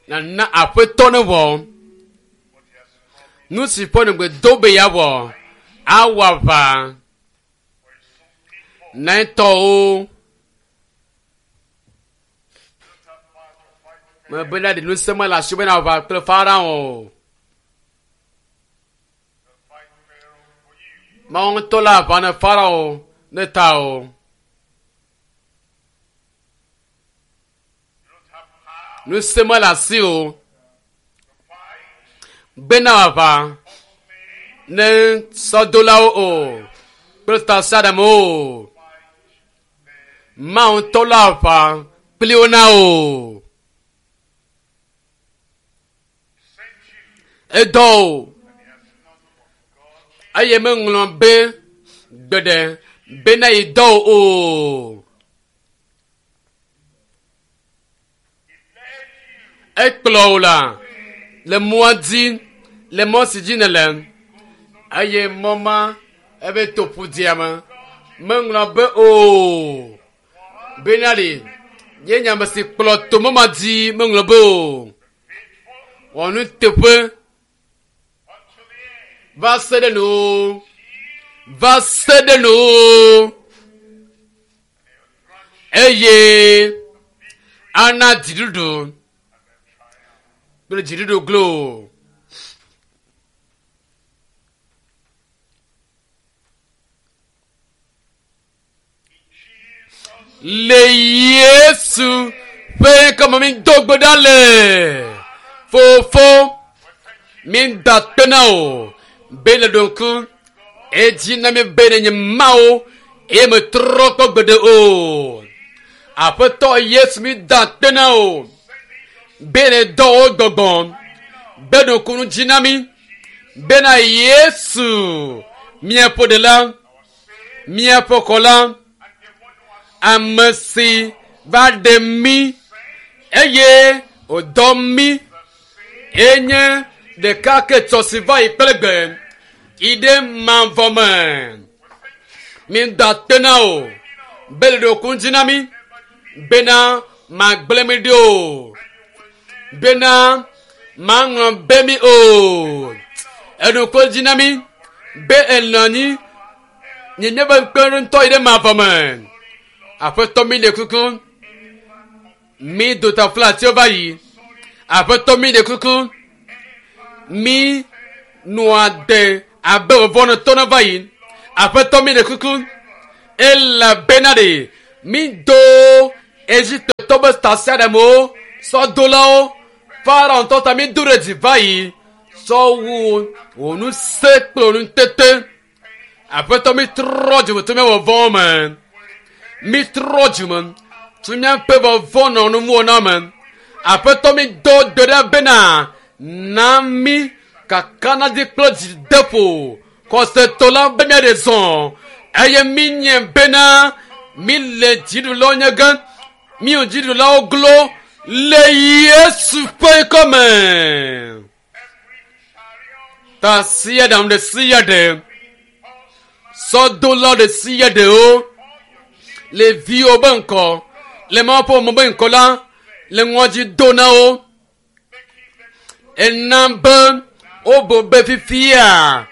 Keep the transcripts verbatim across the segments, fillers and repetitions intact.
Nana aƒetɔ ne wɔ. What he has promised Nu si ƒe ŋugbe do be yeawɔ. Awɔ aʋa for his own people. na etɔwo. You don't have power to fight Pharaoh. Mebe na ɖe ŋusẽ mele asiwò be nàwɔ aʋa kple Farao o. He'll fight Pharaoh for you. Mawu ŋutɔ le aʋa ne Farao ne ta o. You don't have power Ŋusẽ mele asiwò to fight be nawɔ aʋa horsemen, ne sɔdolawo o kple tasiaɖamwo o. fight them. Mawu ŋutɔ le aʋa kpli wo na o. He sent you, Edɔ o and he has not forgotten. eye meŋlɔ be gbeɖe bena yi dɔ o o. He led you Ekplɔ wò la le mɔa dzi le mɔ si dzi nèle eye mɔ ma ebe to ƒudzia me. Meŋlɔ be o bena ɖe nye nye ame si kplɔ to mɔ ma dzi meŋlɔ be o. faithful Wɔ nuteƒe unto the end. va se ɖe nu va se ɖe nu eye ana dziɖuɖu kple dziɖuɖu glo. In Jesus' Le Yesu ƒe ŋkɔme mi do gbe ɖa le. Fofo we thank you. mi da akpe na wò be le ɖo ŋku edzi na mi be nenye Mawu eye metrɔ kpɔ gbeɖe o. Aƒetɔ Yesu mi da akpe na wò be ne dɔ wò gbɔgbɔ be ɖo ŋku nu dzi na mi bena Yesu míaƒe ɖela míaƒe xɔla And the one who has ame si va ɖe mí eye wòdɔ mí the same enye ɖeka ke tsɔ si va yi kple gbe yi ɖe mavɔ me. Mi da akpe na wò be le ɖo ŋku dzi na mí bena magblẽ mi ɖi o bena maŋlɔ be mi o. Eɖo ŋku dzi na mí be enɔ anyi nye míaƒe kpeɖeŋutɔ yi ɖe mavɔ me. Aƒetɔ mi le kuku mi do taflatsewo va yi. Aƒetɔ mi le kuku mi nɔa de abe vɔvɔnɔtɔ ne va yi. Aƒetɔ mi le kuku elabena ɖe mi do Egiptetɔ be tasiaɖamwo sɔdolawo Farao ŋutɔ ta mi do ɖe dzi va yi sɔ wu wò ŋusẽ kple wò nutete. Aƒetɔ mi trɔ dzime tso míaƒe vɔvɔ̃wo me. Mi trɔ dzime tso míaƒe vɔvɔ̃ nɔ nuwɔna me. Aƒetɔ mi do gbe ɖa bena na mi kakanadzi kple dzideƒo xɔsetɔ la be míaɖe zɔ eye mi nye bena mi le dziɖulawo nye ge mi wò dziɖulawo glo le Yesu ƒe ŋkɔme. every chariot, Tasiaɖam ɖe sia ɖe, horseman, sɔdola ɖe sia ɖewo all your le viwo be ŋkɔ le Mawu ƒe ame be ŋkɔ la le ŋɔdzi do na wo. making them Ena be wobo be fifia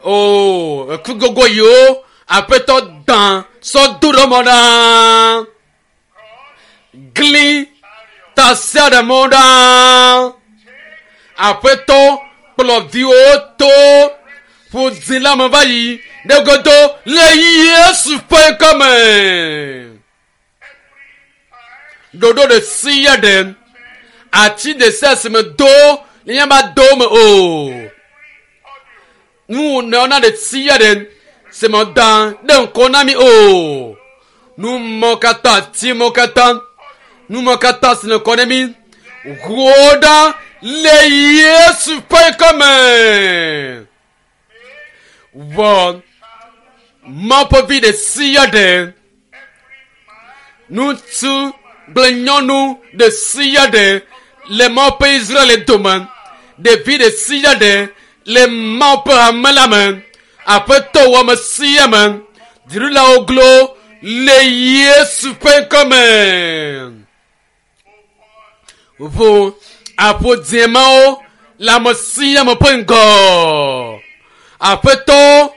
o eku gogo yiwo aƒetɔ dã sɔ do ɖe mɔ ɖa. Gli tasiaɖamwo ɖa. Aƒetɔ kplɔ viwo to ƒudzi la me va yi ɖe godo le Yesu ƒe ŋkɔme. Ɖoɖo ɖe sia ɖe ati ɖe sia si me do le míava do me o. Nu nɔna ɖe sia ɖe si me da ɖe ŋkɔ na mi o. Nu mɔ katã ati mɔ katã nu mɔ katã si le ŋkɔ na mi ʋuwo ɖa le Yesu ƒe ŋkɔme. Wɔ Mawu ƒe vi ɖe sia ɖe ŋutsu kple nyɔnu ɖe sia ɖe le Mawu ƒe Israel dome ɖevi ɖe sia ɖe le Mawu ƒe hame la me aƒetɔ wɔ ame sia ame dziɖulawo glo le Yesu ƒe ŋkɔme. Ʋu Aƒodziemawo le ame sia ame ƒe ŋgɔ. Aƒetɔ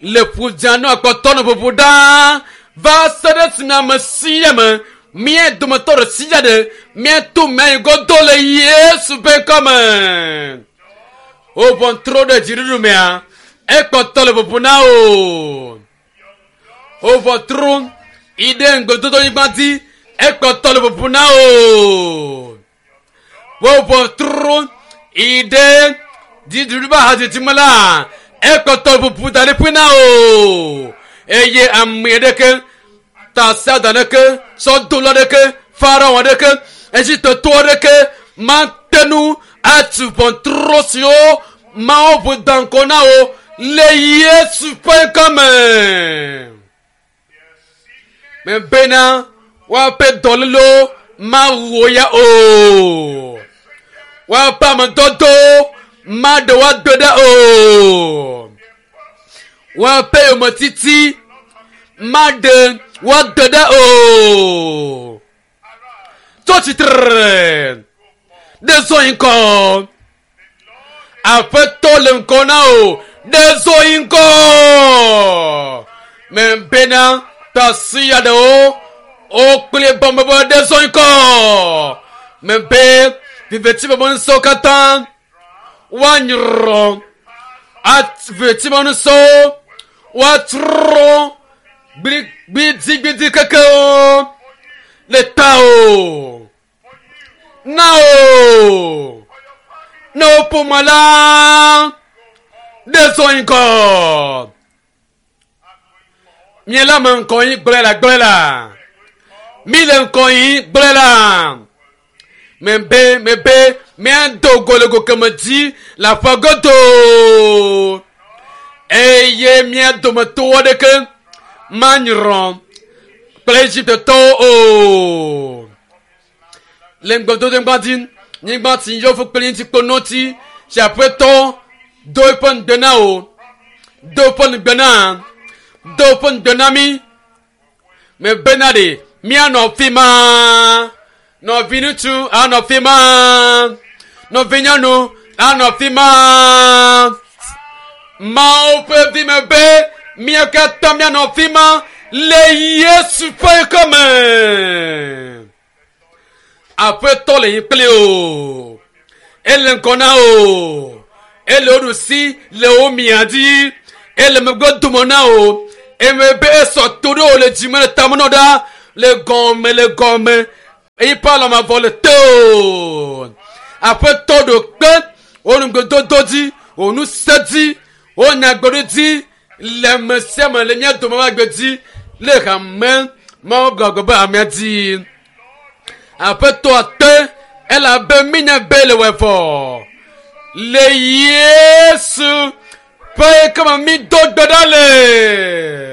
le ƒudzanu akpɔtɔ nɔ ʋuʋu ɖaa va se ɖe esime ame sia ame mía dometɔ ɖe sia ɖe míato mía yi godo le Yesu ƒe ŋkɔme. Wo ʋɔtro ɖe dziɖuɖu mea, ekpɔtɔ le ʋuʋu na wo. Wo ʋɔtro yi ɖe ŋgbedodonyigba dzi, ekpɔtɔ le ʋuʋu na wo. Wo ʋɔtro yi ɖe dziɖuɖu ƒe ahadzidzi me la, ekpɔtɔ le ʋuʋu da ɖi ƒui na wo. Eye ame ɖeke, tasiaɖam ɖeke, sɔdola ɖeke, Farao ɖeke, Egiptetɔ ɖeke mate ŋu atu ʋɔtro siwo Mawu ʋu da ŋgɔ na wo le Yesu ƒe ŋkɔme. Mebena woaƒe dɔlélewo mawu wo ya o. Woaƒe amedɔdɔwo maɖe wo ado ɖa o. Woaƒe yometiti maɖe wo ado ɖa o. Tso tsitre ɖe zɔ yi ŋgɔ. Aƒetɔ le ŋgɔ na wò ɖe zɔ yi ŋgɔ. Mebena tasiaɖewo wokple bɔmebe ɖe zɔ yi ŋgɔ. Mebe viveti ƒe ŋusẽwo katã woanyrɔ. Viveti ƒe ŋusẽwo woatrɔ gbidigbidi kekewo le tawò. Na wò. Ne wò ƒome la ɖe zɔ yi ŋgɔ. Mie le ame ŋgɔ yi gblɔe la gblɔe la. Mi le ŋgɔ yi gblɔe la. Mebe mebe míado go le go keme dzi le aƒe godo. Eye mía dometɔ aɖeke manyrɔ kple Egiptetɔwo o. Le ŋgbedodonyigba dzi, nyigba si yɔ fũ kple ŋuti kple notsi si Aƒetɔ do eƒe ŋugbe na wò, do eƒe ŋugbe na, do eƒe ŋugbe na mí. Mebena ɖe míanɔ fi ma. Nɔviŋutsu anɔ fi ma. Nɔvinyɔnu anɔ fi ma. Mawu ƒe vi me be mía katã míanɔ fi ma le Yesu ƒe ŋkɔme. Aƒetɔ le yi kpli o. Ele ŋgɔ na o. Ele wo ɖusi le wo mia dzi. Ele megbe dome na o. Eme be esɔ to ɖe wo le dzime le tame nɔ ɖa le gɔme le gɔme. Eyi ƒe alɔmavɔ le te o. Aƒetɔ ɖo kpe wo ŋugbedodo dzi, wo ŋusẽ dzi, wo nyagblɔɖi dzi le ame sia ame le mía dome ƒe agbe dzi le hame Mawu gbɔgbɔ be hamea dzi. Aƒetɔ ate elabe mínya be le wɔe vɔ. Le Yesu ƒe ŋkɔme mído gbe ɖa le.